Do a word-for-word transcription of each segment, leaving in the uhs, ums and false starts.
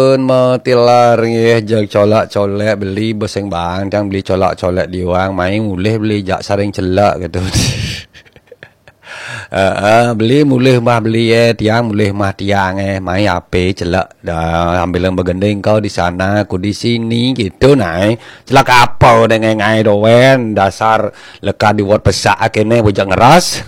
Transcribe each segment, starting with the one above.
Pun matilar nggih, jeg colak-colek beli beseng bang, tiang beli colak-colek diwang, mai mulih beli jak saring celak gitu. Heeh, beli mulih mah beli eh, tiang mulih mah tiang eh, mai ape celak. Dah, sambil begending kau di sana, aku di sini gitu nah. Eh. Celak apa dengan ngai doen, dasar leka diwot pesak akene bujak ngeras.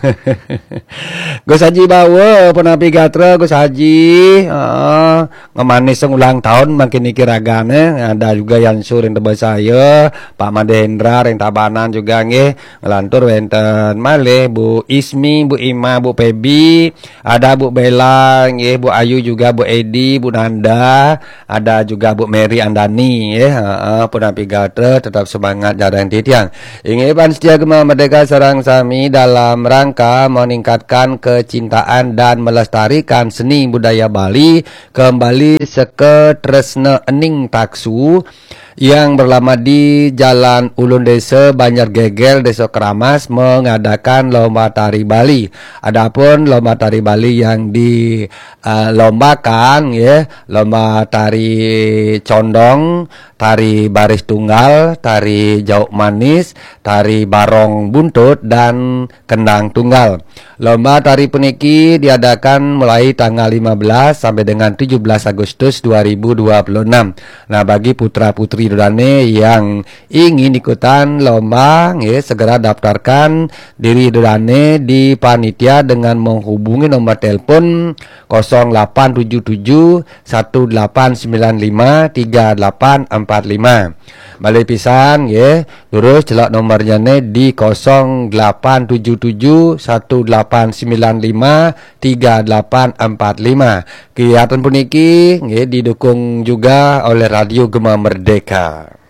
Gus Haji bawa penapi gatra Gus Haji. Heeh. Ngemanis ulang tahun makin niki ragane. Ada juga Yan Sur yang tebas saya, Pak Made Hendra yang Tabanan juga nggih. Ngelantur wenten malih Bu Ismi, Bu Ima, Bu Pebi, ada Bu Bella nggih, Bu Ayu juga, Bu Edi, Bu Nanda, ada juga Bu Mary Andani nggih. Heeh, pun api gatra tetap semangat jarang titiang. Inggih pan setia gema merdeka sareng sami dalam rangka meningkatkan kecintaan dan melestarikan seni budaya Bali kembali seke tresna ening taksu yang berlama di Jalan Ulun Desa Banjar Gegel Desa Keramas mengadakan lomba tari Bali. Adapun lomba tari Bali yang di uh, lombakan ya, lomba tari condong, tari baris tunggal, tari jauk manis, tari barong buntut dan kendang tunggal. Lomba tari puniki diadakan mulai tanggal lima belas sampai dengan tujuh belas Agustus dua ribu dua puluh enam. Nah, bagi putra-putri dodane yang ingin ikutan lomba, nggih, segera daftarkan diri dodane di panitia dengan menghubungi nomor telepon kosong delapan tujuh tujuh satu delapan sembilan lima tiga delapan empat lima. Balik pisan, nggih. Terus celak nomornya ne di kosong delapan tujuh tujuh satu delapan sembilan lima tiga delapan empat lima. Kegiatan puniki nggih didukung juga oleh Radio Gema Merdeka.